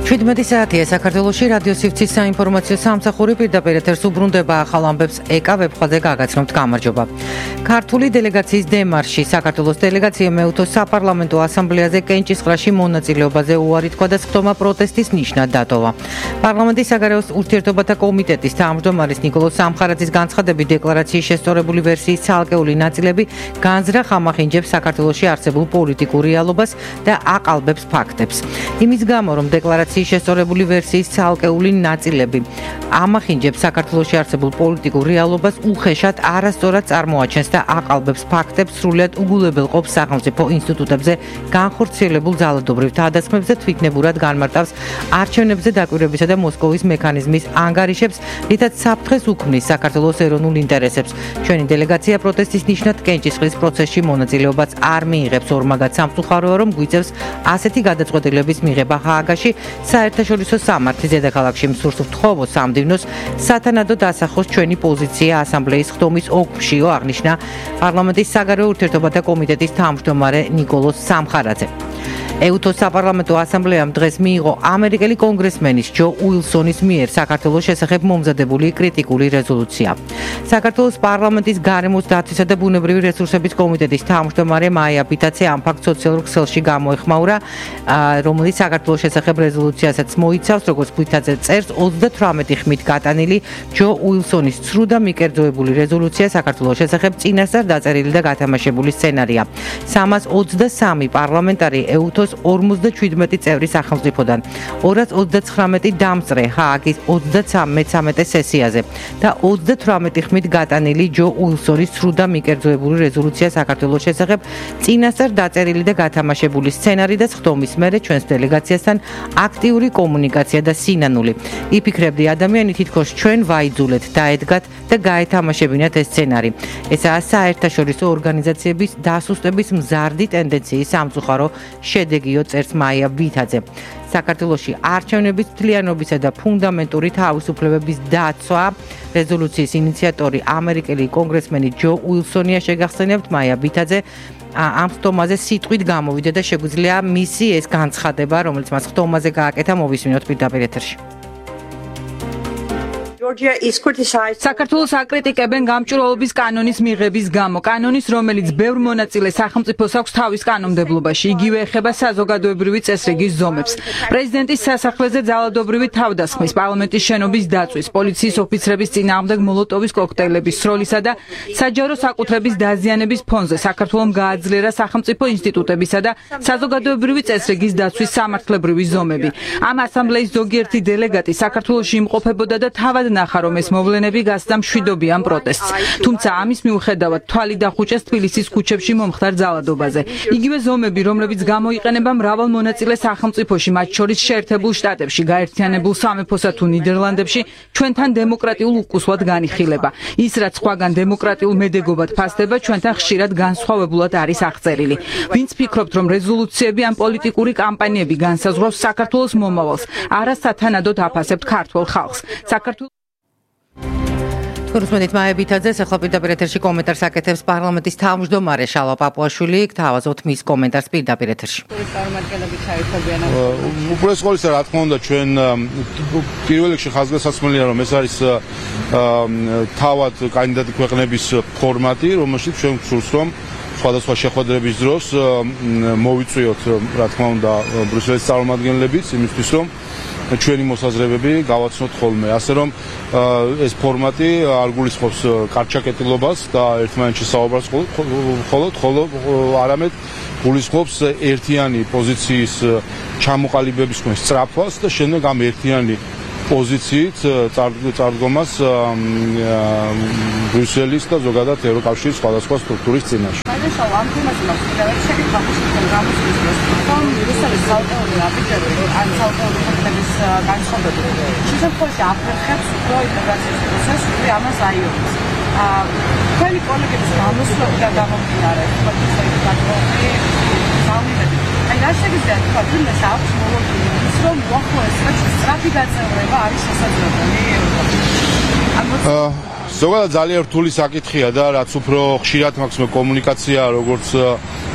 17 საათია საქართველოში რადიო სივრცის საინფორმაციო სამსახური პირდაპირ ეთერს უბრუნდება ახალ ამბებს ეკა ვებხვაზე გაგაცნობთ გამარჯობა. ქართული დელეგაციის დემარში საქართველოს დელეგაცია მეუთო საპარლამენტო ასამბლეაზე კენჭისყრაში მონაწილეობაზე უარი თქვა და სხდომა პროტესტის ნიშნად დატოვა. პარლამენტის საგარეო ურთიერთობათა კომიტეტის თავმჯდომარის ნიკოლოზ სამხარაძის განცხადებით დეკლარაციის შესწორებული ვერსიის ცალკეული ნაწილები განზრახ ამახინჯებს საქართველოში არსებულ პოლიტიკურ რეალობას და აყალბებს ფაქტებს. იმის გამო რომ დეკლარაციის შესწორებული ვერსიის ცალკეული ნაწილები ამახინჯებს საქართველოში არსებულ პოლიტიკურ რეალობას უხეშად არასწორად წარმოაჩენს და აყალბებს ფაქტებს სრულად უგულებელყოფს სახელმწიფო ინსტიტუტებზე განხორციელებულ ძალადობრივ თავდასხმებს და თვითნებურად განმარტავს არჩევნებზე დაკვირვებისა და მოსკოვის მექანიზმის ანგარიშებს, რითაც საფრთხეს უქმნის საქართველოს ეროვნულ ინტერესებს. ჩვენი დელეგაცია პროტესტის ნიშნად კენჭისყრის პროცესში მონაწილეობას არ მიიღებს, ორმაგად სამწუხაროა, რომ გვიწევს ასეთი გადაწყვეტილების მიღება ჰააგაში, საერთაშორისო სამართლის დედაქალაქში მსურს ვთხოვო სამდივნოს სათანადოდ ასახოს ჩვენი პოზიცია ასამბლეის ხდომის ოლქშიო, აღნიშნა პარლამენტის საგარეო ურთიერთობათა კომიტეტის თავმჯდომარე ნიკოლოზ სამხარაძე. ეუთოს საპარლამენტო ასამბლეამ დღეს მიიღო ამერიკელი კონგრესმენის ჯო უილსონის მიერ საქართველოს შესახებ მომზადებული კრიტიკული რეზოლუცია. საქართველოს პარლამენტის გარემოს დაცვისა და ბუნებრივი რესურსების კომიტეტის თავმჯდომარე მაია ბითაცე ამ ფაქტს სოციალურ ქსელში გამოეხმაურა, რომელიც საქართველოს შესახებ რეზოლუციასაც მოიცავს, როგორც ბითაცე წერს, 38 ხმით გატანილი ჯო უილსონის ცრუ და მიკერძოებული რეზოლუცია საქართველოს შესახებ წინასწარ დაწერილი და გათამაშებული სცენარია. 323 პარლამენტარი ეუთოს 57 წევრი სახელმწიფოდან 239 დამწრე ჰააგის 33 სესიაზე და 38 ხმით გატანილი ჯო უილსონის ცრუ და მიკერძოებული რეზოლუცია საქართველოს შესახებ წინასწარ დაწერილი და გათამაშებული სცენარი და სხდომის მერე ჩვენს დელეგაციასთან აქტიური კომუნიკაცია და სინანული. იფიქრებდი ადამიანი თითქოს ჩვენ ვაიძულეთ, დაედგათ და გაეთამაშებინათ ეს სცენარი. ესაა საერთაშორისო ორგანიზაციების დასუსტების მზარდი ტენდენციის სამწუხარო შედეგიო, წერს მაია ბითაძე. საქართველოში არჩევნების თლიანობისა და ფუნდამენტური თავისუფლებების დაცვა რეზოლუციის ინიციატორი ამერიკელი კონგრესმენი ჯო უილსონია, შეგახსენებთ მაია ბითაძე ამ ხდომაზე სიტყვით გამოვიდა და შეგვიძლია მისი ეს განცხადება, რომელიც მას ხდომაზე გააკეთა, მოვისმინოთ პირდაპირ ეთერში. საქართველოს აკრიტიკებენ გამჭვირვალობის კანონის მიღების გამო. კანონის, რომელიც ბევრ მონაწილე სახელმწიფოს აქვს თავის კანონმდებლობაში. იგივე ეხება საზოგადოებრივი წესრიგის ზომებს. პრეზიდენტის სასახლეზე ძალადობრივი თავდასხმის, პარლამენტის შენობის დაწვის, პოლიციის ოფიცრების წინააღმდეგ მოლოტოვის კოქტეილების სროლისა და საჯარო საკუთრების დაზიანების ფონზე საქართველომ გააძლიერა სახელმწიფო ინსტიტუტებისა და საზოგადოებრივი წესრიგის დაცვის სამართლებრივი ზომები. ამ ასამბლეის ზოგიერთი დელეგატი საქართველოში იმყოფებოდა და თავად ნახა, რომ ეს მოვლენები გასცდა მშვიდობიან პროტესტს. თუმცა ამის მიუხედავად თვალი დახუჭეს თბილისის ქუჩებში მომხდარ ძალადობაზე. იგივე ზომები, რომლებიც გამოიყენება მრავალ მონაწილე სახელმწიფოში, მათ შორის შეერთებულ შტატებში, გაერთიანებულ სამეფოსა თუ ნიდერლანდებში, ჩვენთან დემოკრატიულ უკუსვად განიხილება. ის, რაც სხვაგან დემოკრატიულ მედეგობად ფასდება, ჩვენთან ხშირად განსხვავებულად არის აღწერილი. ვინც ფიქრობთ, რომ რეზოლუციები ან პოლიტიკური კამპანიები განსაზღვრავს საქართველოს მომავალს, არასათანადოდ აფასებთ ქართულ ხალხს. გულისხმობთ მაია ბითაძეს, ახლა პირდაპირ ეთერში კომენტარს აკეთებს პარლამენტის თავმჯდომარე შალვა პაპუაშვილი, გთავაზობთ მის კომენტარს პირდაპირ ეთერში. უპირველეს ყოვლისა, რა თქმა უნდა, ჩვენ პირველ რიგში ხაზგასაცმელია, რომ ეს არის თავად კანდიდატი ქვეყნების ფორმატი, რომელშიც ჩვენ გვსურს, რომ სხვადასხვა შეხვედრების დროს მოვიწვიოთ, რა თქმა უნდა, ბრიუსელის წარმომადგენლებიც იმისთვის, რომ ჩვენი მოსაზრებები გავაცნოთ ხოლმე. ასე რომ ეს ფორმატი არ გულისხმობს კარგჩაკეტილობას და ერთმანეთში საუბარს ხოლო არამედ გულისხმობს ერთიანი პოზიციის ჩამოყალიბების სწრაფვას და შემდეგ ამ ერთიანი პოზიციით წარდგომას ბრიუსელის და ზოგადად ევროკავშირის სხვადასხვა სტრუქტურის წინაშე. Quali colleghi stanno sulla davanti აი რა შეიძლება თქვა თუნდაც აქვს მოლოდინის რომ მოხდეს სწრაფი გაწევრება არის შესაძლებელი. ზოგადად ძალიან რთული საკითხია და რაც უფრო ხშირად მაქვს კომუნიკაცია როგორც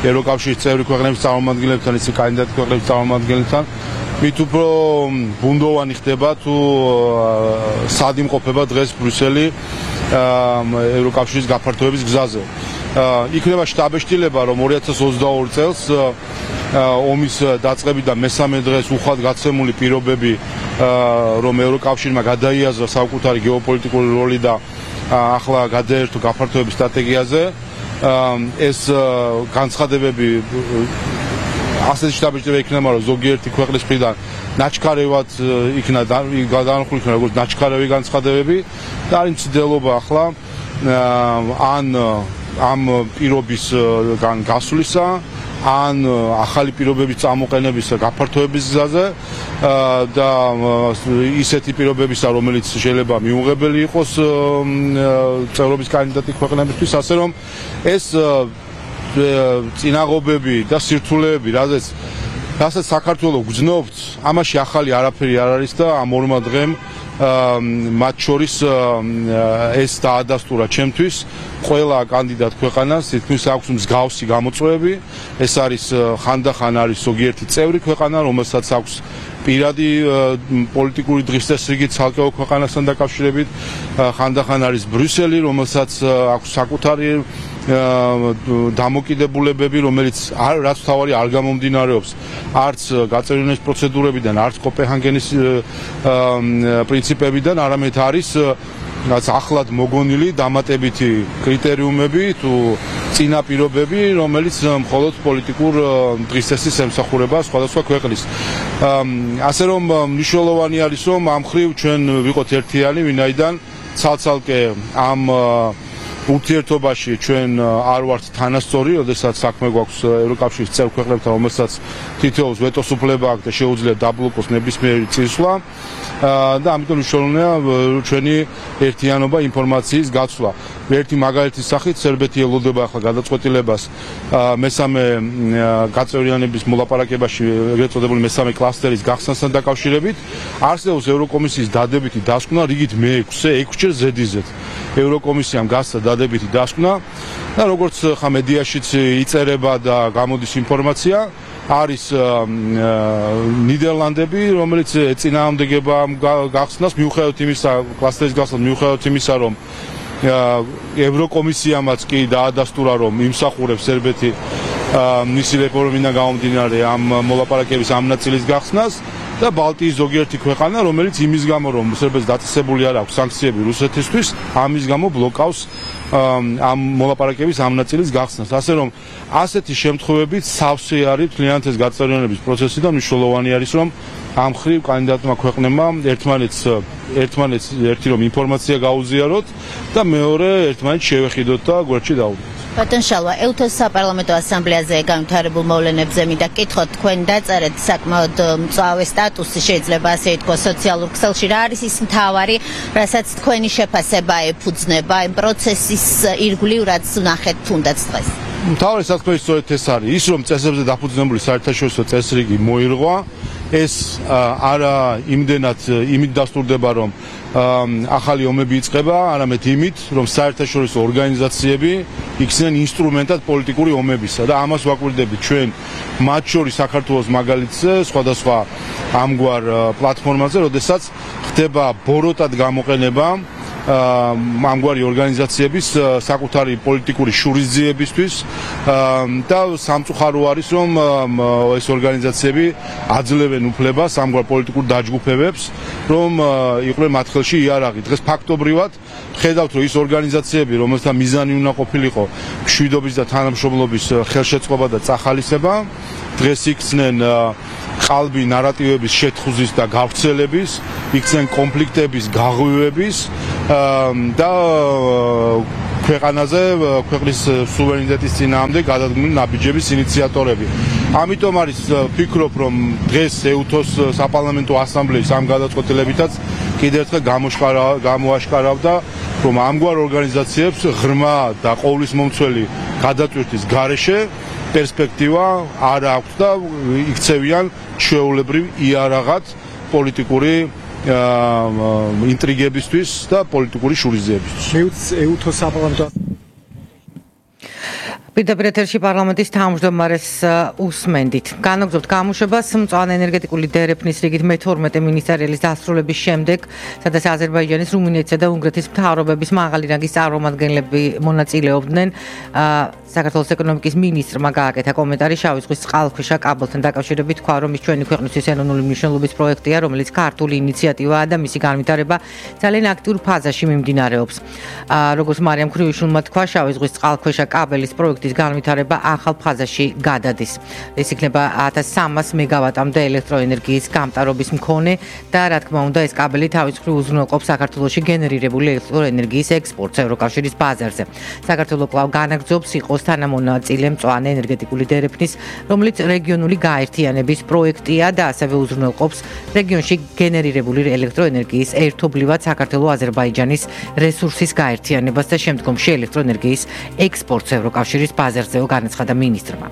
ევროკავშირის წევრი ქვეყნების წარმომადგენლებთან, ისე კანდიდატ ქვეყნების წარმომადგენლებთან, მით უფრო ბუნდოვანი ხდება თუ სად იმყოფება დღეს ბრიუსელი ევროკავშირის გაფართოების გზაზე. იქნება შტაბეშტილება, რომ 2022 წელს ომის დაწყებიდან მესამე დღეს უხვად გაცემული პირობები, რომ ევროკავშირმა გადაიაზრა საკუთარი გეოპოლიტიკური როლი და ახლა გადაერთო გაფართოების სტრატეგიაზე, ეს განცხადებები ასეთი შტაბეშტილება იქნება, რომ ზოგიერთი ქვეყნის მხრიდან ნაჩქარევად იქნა გადაანახული იქნა როგორც ნაჩქარევი განცხადებები და არის მცდელობა ახლა ან ამ პირობის გასვლისა, ან ახალი პირობების წამოყენების გაფართოების გზაზე და ისეთი პირობებისა, რომელიც შეიძლება მიუღებელი იყოს წევრობის კანდიდატი ქვეყნებისთვის, ასე რომ ეს წინაღობები და სირთულეები, რასაც საქართველოს გძნობთ, ამაში ახალი არაფერი არ არის და ამ ორმა დღემ მათ შორის ეს დაადასტურა ჩემთვის ყველა კანდიდატ ქვეყანას თითქმის აქვს მსგავსი გამოწვევები. ეს არის ხანდახან არის ზოგიერთი წევრი ქვეყანა, რომელსაც აქვს პირადი პოლიტიკური დღესდღეობით ცალკეულ ქვეყანასთან დაკავშირებით, ხანდახან არის ბრიუსელი, რომელსაც აქვს საკუთარი დამოკიდებულებები, რომელიც რაც თავარი არ გამომდინარეობს არც გაწევრიანების პროცედურებიდან, არც კოპენჰაგენის პრინციპებიდან, არამედ არის რაც ახლად მოგონილი დამატებითი კრიტერიუმები თუ წინა პირობები, რომელიც მხოლოდ პოლიტიკურ დღესდღეობის ემსახურება სხვადასხვა ქვეყნის. ასე რომ მნიშვნელოვანი არის, რომ ამ ხრივ ჩვენ ვიყოთ ერთიანი, ვინაიდან ცალ-ცალკე ამ ურთიერთობაში ჩვენ არ ვართ თანასწორი, როდესაც საქმე გვაქვს ევროკავშირის წევრ ქვეყნებთან, რომელსაც თითოეულს ვეტოს უფლება აქვს და შეუძლია დაბლოკოს ნებისმიერი წინსვლა და ამიტომ მნიშვნელოვანია ჩვენი ერთიანობა ინფორმაციის გაცვლა. ერთი მაგალითის სახით სერბეთი ელოდება ახლა გადაწყვეტილებას მესამე გაწევრიანების მოლაპარაკებაში ეგრეთ წოდებული მესამე კლასტერის გახსნასთან დაკავშირებით. არსებობს ევროკომისიის დადებითი დასკვნა რიგით მე-6-ჯერ ზედიზედ. ევროკომისიამ გასცა დადებითი დასკვნა და როგორც ხა მედიაშიც იწერება და გამოდის ინფორმაცია, არის ნიდერლანდები, რომელიც ეწინააღმდეგება გახსნას მიუხედავად იმისა, კლასტერის გახსნას მიუხედავად იმისა, რომ ევროკომისიამაც კი დაადასტურა, რომ იმსახურებს სერბეთი მისი რეფორმიდან გამომდინარე ამ მოლაპარაკების ამ ნაწილის გახსნას და ბალტიის ზოგიერთი ქვეყანა, რომელიც იმის გამო, რომ სერბეთს დაწესებული არ აქვს სანქციები რუსეთისთვის, ამის გამო ბლოკავს ამ მოლაპარაკების ამ ნაწილის გახსნას. ასე რომ ასეთი შემთხვევებით სავსე არის მთლიანად ეს გაწევრიანების პროცესი და მნიშვნელოვანი არის, რომ ამ ხრივ კანდიდატმა ქვეყნებმა ერთმანეთს ერთი რომ ინფორმაცია გაუზიაროთ და მეორე ერთმანეთს შევეხიდოთ და გვერდში დავუდგოთ. ბატონ შალვა, ელუთოს საპარლამენტო ასამბლეაზე განვითარებულ მოვლენებზე მინდა გითხოთ, თქვენ დაწერეთ საკმაოდ მწვავე სტატუსი, შეიძლება ასე ითქვას, სოციალურ ქსელში, რა არის ის მთავარი, რასაც თქვენი შეფასება ეფუძნება იმ პროცესის ირგვლივ, რაც ვნახეთ თუნდაც დღეს? მთავარი საქმე სწორედ ეს არის, ის რომ წესებზე დაფუძნებული საერთაშორისო წესრიგი მოირღვა, ეს არა იმდენად იმით დასტურდება, რომ ახალი ომები იწყება, არამედ იმით, რომ საერთაშორისო ორგანიზაციები იქცნენ ინსტრუმენტად პოლიტიკური ომებისა და ამას ვაკვირდებით ჩვენ მათ შორის საქართველოს მაგალითზე, სხვადასხვა ამგვარ პლატფორმაზე, როდესაც ხდება ბოროტად გამოყენება ამგვარი ორგანიზაციების საკუთარი პოლიტიკური შურისძიებისთვის და სამწუხარო არის, რომ ეს ორგანიზაციები აძლევენ უფლებას ამგვარ პოლიტიკურ დაჯგუფებებს, რომ იყვნენ მათ ხელში იარაღი. დღეს ფაქტობრივად ხედავთ, რომ ის ორგანიზაციები, რომელთა მიზანი უნდა ყოფილიყო მშვიდობის და თანამშრომლობის ხელშეწყობა და წახალისება, დღეს იქცნენ ყალბი ნარატივების შეთხუზის და გავრცელების, იქცნენ კონფლიქტების გაღვივების და ქვეყანაზე, ქვეყნის სუვერენიტეტის წინააღმდეგ გადადგმული ნაბიჯების ინიციატორები. ამიტომ არის ვფიქრობ, რომ დღეს ეუთოს საპარლამენტო ასამბლეის ამ გადაწყვეტილებითაც კიდევ ერთხელ გამოაშკარავდა, რომ ამგვარ ორგანიზაციებს ღრმა და ყოვლისმომცველი გადატვირთვის გარეშე პერსპექტივა არ აქვს და იქცევიან ჩვეულებრივ იარაღად პოლიტიკური ინტრიგებისთვის და პოლიტიკური შურისძიებისთვის. მეუც ეუთოს საპარლამენტო პირდაპირ ეთერში პარლამენტის თავმჯდომარეს უსმენდით. განაგრძობთ გამოშვებას მწვანე ენერგეტიკული დერეფნის რიგით მე-12 მინისტერიალის დასრულების შემდეგ, სადაც აზერბაიჯანის, რუმინეთისა და უნგრეთის მთავრობების მაღალი რანგის წარმომადგენლები მონაწილეობდნენ. საქართველოს ეკონომიკის მინისტრმა გააკეთა კომენტარი შავი ზღვის წყალქვეშა კაბელთან დაკავშირებით, თქვა, რომ ის ჩვენი ქვეყნისთვის ეროვნული მნიშვნელობის პროექტია, რომელიც ქართული ინიციატივაა და მისი განვითარება ძალიან აქტიურ ფაზაში მიმდინარეობს. როგორც მარიამ ქრივიშვილმა თქვა, შავი ზღვის წყალქვეშა კაბელის პროექტის განვითარება ახალ ფაზაში გადადის. ეს იქნება 1300 მეგავატამდე ელექტროენერგიის გამტარობის მქონე და რა თქმა უნდა, ეს კაბელი თავის მხრივ უზრუნველყოფს საქართველოში გენერირებული ელექტროენერგიის ექსპორტს ევროკავშირის ბაზარზე. საქართველოს კვლავ განაგრძობს იყოს თანამონაწილე მწვანე ენერგეტიკული დერეფნის, რომელიც რეგიონული გაერთიანების პროექტია და ასევე უზრუნველყოფს რეგიონში გენერირებული ელექტროენერგიის ერთობლივად საქართველოს-აზერბაიჯანის რესურსის გაერთიანებას და შემდგომში ელექტროენერგიის ექსპორტს ევროკავშირის ბაზარზეო განაცხადა მინისტრმა.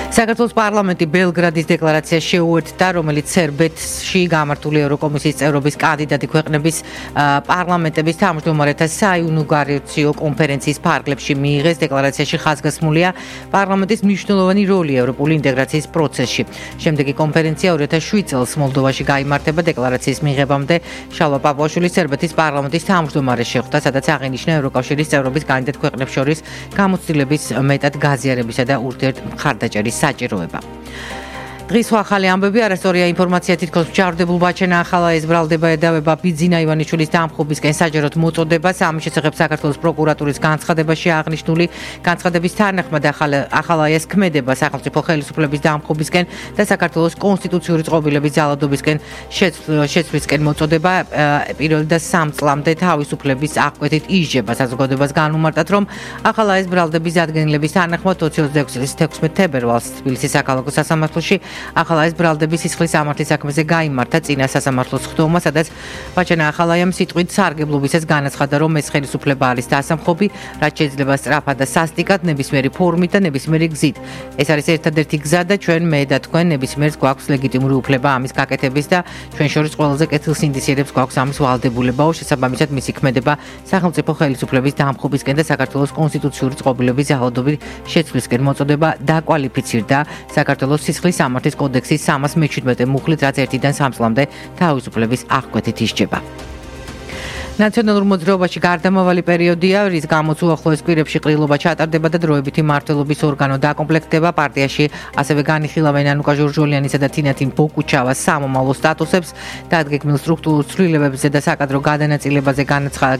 საქართველოს პარლამენტი ბელგრადის დეკლარაციას შეუერთდა, რომელიც სერბეთში გამართული ევროკომისიის წევრობის კანდიდატი ქვეყნების პარლამენტების თავმჯდომარეთა საინაუგურაციო კონფერენციის ფარგლებში მიიღეს. დეკლარაციაში ხაზგასმულია პარლამენტის მნიშვნელოვანი როლი ევროპული ინტეგრაციის პროცესში. შემდეგი კონფერენცია 2007 წელს მოლდოვაში გაიმართება. დეკლარაციის მიღებამდე შალვა პაპუაშვილი სერბეთის პარლამენტის თავმჯდომარეს შეხვდა, სადაც აღინიშნა ევროკავშირის წევრობის კანდიდატ ქვეყნებს შორის გამოცდილების მეტად გაზიარებისა და ურთიერთმხარდაჭერის საჭიროება. დღის ახალი ამბები, არასწორია ინფორმაცია, თითქოს მჯავრდებულ ბაჩენა ახალა ეზბრალდება ედავება ბიძინა ივანიშვილის დამხობისკენ საჯაროდ მოწოდებას. ამის შესახებ საქართველოს პროკურატურის განცხადებაში აღნიშნული განცხადების თანახმად ახალა ეს ქმედება სახელმწიფო ხელისუფლების დამხობისკენ და საქართველოს კონსტიტუციური წყობილების ძალადობისკენ შეცვლისკენ მოწოდება პირველ და 3 წლამდე თავისუფლების აღკვეთით იზრდება. საზოგადოებას განუმარტათ, რომ ახალა ეზბრალდების ადგენილების თანახმად 2026 წლის 16 თებერვალს თბილისის საქალაქო სასამართლოში ახალა ეს ბრალდების სისხლის სამართლის საქმეზე გაიმართა წინა სასამართლოს ხდომა, სადაც ბაჩენა ახალაიამ სიტყვით სარგებლობისას განაცხადა, რომ ეს ხელისუფლება არის დასამხობი, რაც შეიძლება სწრაფად და სასტიკად ნებისმიერი ფორმით და ნებისმიერი გზით. ეს არის ერთადერთი გზა და ჩვენ მე და თქვენ ნებისმიერს გვაქვს ლეგიტიმური უფლება ამის გაკეთების და ჩვენ შორის ყველაზე კეთილს ინდიციერებს გვაქვს ამის ვალდებულებაო. შესაბამისად მისი ქმედება სახელმწიფო ხელისუფლების დამხობისკენ და საქართველოს კონსტიტუციური წყობილების ძალადობის შეცვლისკენ მოწოდება დაკვალიფიცირდა საქართველოს სისხლის სამართლის კოდექსის 317 მუხლით, რაც 1-დან 3 წლამდე თავისუფლების აღკვეთით ისჯება. ნაციონალურ მოძრაობაში გარდამავალი პერიოდია, რის გამოც უახლოეს კვირებში ყრილობა ჩატარდება და დროებითი მმართველობის ორგანო დაკომპლექტდება. პარტიაში ასევე განიხილავენ ანუკა ჟორჟოლიანისა და თინათინ ბოკუჩავას სამომავლო სტატუსებს. დადგეგმილ სტრუქტურულ ცვლილებებზე და საკადრო გადანაწილებაზე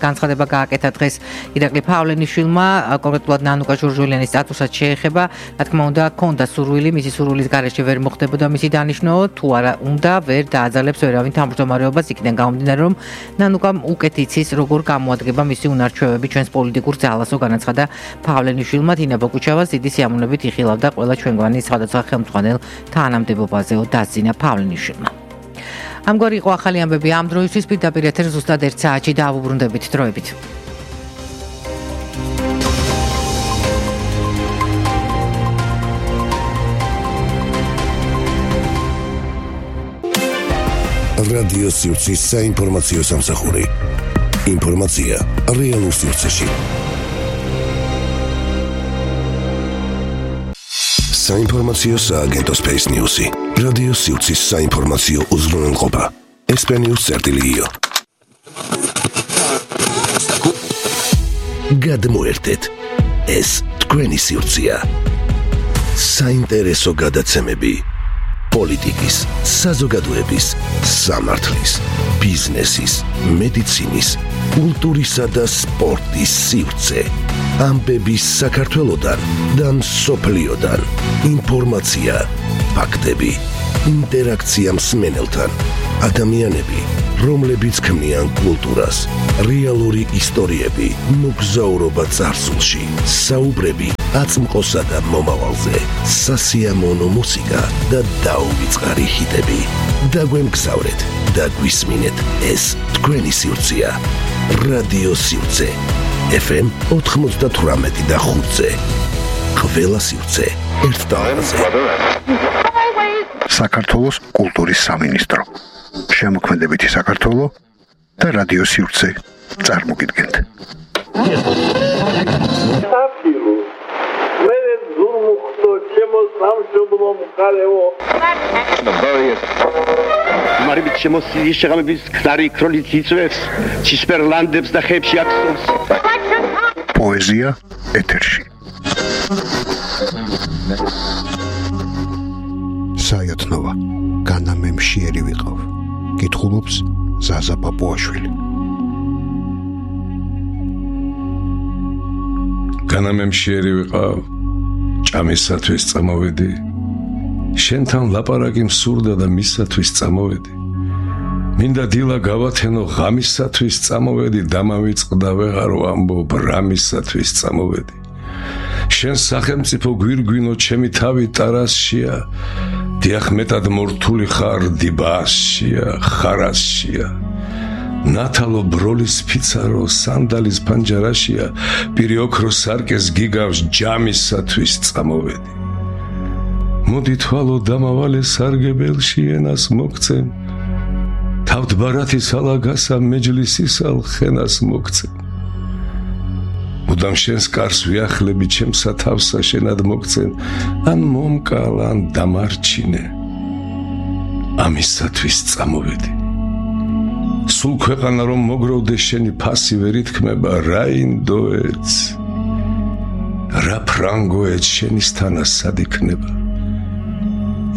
განცხადება გააკეთა დღეს ირაკლი ფავლენიშვილმა. კონკრეტულად ანუკა ჟორჟოლიანის სტატუსაც შეეხება. რა თქმა უნდა, ჰქონდა სურვილი, მისი სურვილის გარეშე ვერ მოხდებოდა მისი დანიშნო, თუ არა უნდა ვერ დააძალებს ვერავინ თავმჯდომარეობას, იქიდან გამომდინარე, რომ ნანუკამ უკეთი იცის, როგორ გამოადგება მისი უნარჩვევები ჩვენს პოლიტიკურ ძალასო, განაცხადა ფავლენიშვილმა. თინა ბოკუჩავას დიდი სიამოვნებით იხილავდა ყველა ჩვენგვანი სხვადასხვა ხელმძღვანელ თანამდებობაზეო, დასძინა ფავლენიშვილმა. ამგვარი იყო ახალი ამბები ამ დროისთვის. პირდაპირ ეთერს ზუსტად 1 საათში დავუბრუნდებით დროებით. რადიო სივრცის საინფორმაციო სამსახური. ინფორმაცია რეალურ სივრცეში. საინფორმაციო სააგენტო Space News-ი. რადიო სივრცის საინფორმაციო უზრუნველყოფა. SPNews.io. გადმოერთეთ. ეს თქვენი სივრცეა. საინტერესო გადაცემები. პოლიტიკის, საზოგადოების, სამართლის, ბიზნესის, მედიცინის, კულტურისა და სპორტის სივრცე. ამბები საქართველოდან და მსოფლიოდან. ინფორმაცია, ფაქტები, ინტერაქცია მსმენელთან. ადამიანები, რომლებიც ქმნიან კულტურას, რეალური ისტორიები, მოგზაურობა წარსულში, საუბრები აწმყოსა და მომავალზე, სასიამოვნო მუსიკა და დაუვიწყარი ჰიტები. დაგვემგზავრეთ და გვისმინეთ, ეს თქვენი სივრცეა. რადიო სივრცე. FM 98 და 5-ზე. ყველა სივრცე ერთ ტალღაზე. საქართველოს კულტურის სამინისტრო. შემოქმედებითი საქართველო და რადიო სივრცე წარმოგიდგენთ. სამშობლო მხარეო მარიბით შემოსილი შეღამების ქნარი ქროლით იწვევს ცისფერლანდებს და ხეებში აქსობს პოეზია ეთერში საიათნოვა განამემშიერი ვიყავ კითხულობს ზაზა პაპუაშვილი განამემშიერი ვიყავ ჭამისათვის წამოვედი შენთან ლაპარაკი მსურდა და მისათვის წამოვედი მინდა დილა გავათენო ღამისათვის წამოვედი დამავიწყდა ვეღარ ვამბობ რამისათვის წამოვედი შენ სახელმწიფო გვირგვინო ჩემი თავი ტარასშია დიახ მეტად მორთული ხარ დიბასშია ხარასშია ნათალო ბროლის ფიცარო სანდალის პანჯარაშია პირი ოქრო სარკეს გიგავს ჯამისათვის წამოვედი მოდი თვალო დამავალე სარგებელში ენას მოგცემ თავთ ბარათის ალაგასა მეჯლისისალ ხენას მოგცემ მუდამ შენს კარს ვიახლები ჩემსა თავსა შენად მოგცემ ან მომკალ ან დამარჩინე ამისათვის წამოვედი სულ ქვეყანა რომ მოგროვდეს შენი ფასი ვერ ითქმება რა ინდოეთს რა ფრანგოეთს შენისთანა სად იქნება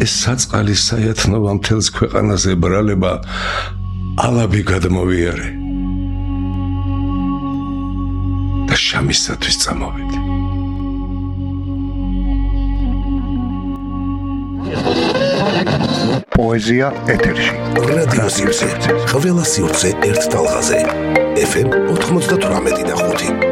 ეს საწყალი საიათნოვა მთელს ქვეყანაზე ბრალება ალაბი გადმოვიარე და შამისათვის წამოვედი პოეზია ეთერში რადიო სივრცე ყველა სივრცე ერთ ტალღაზე FM 98.5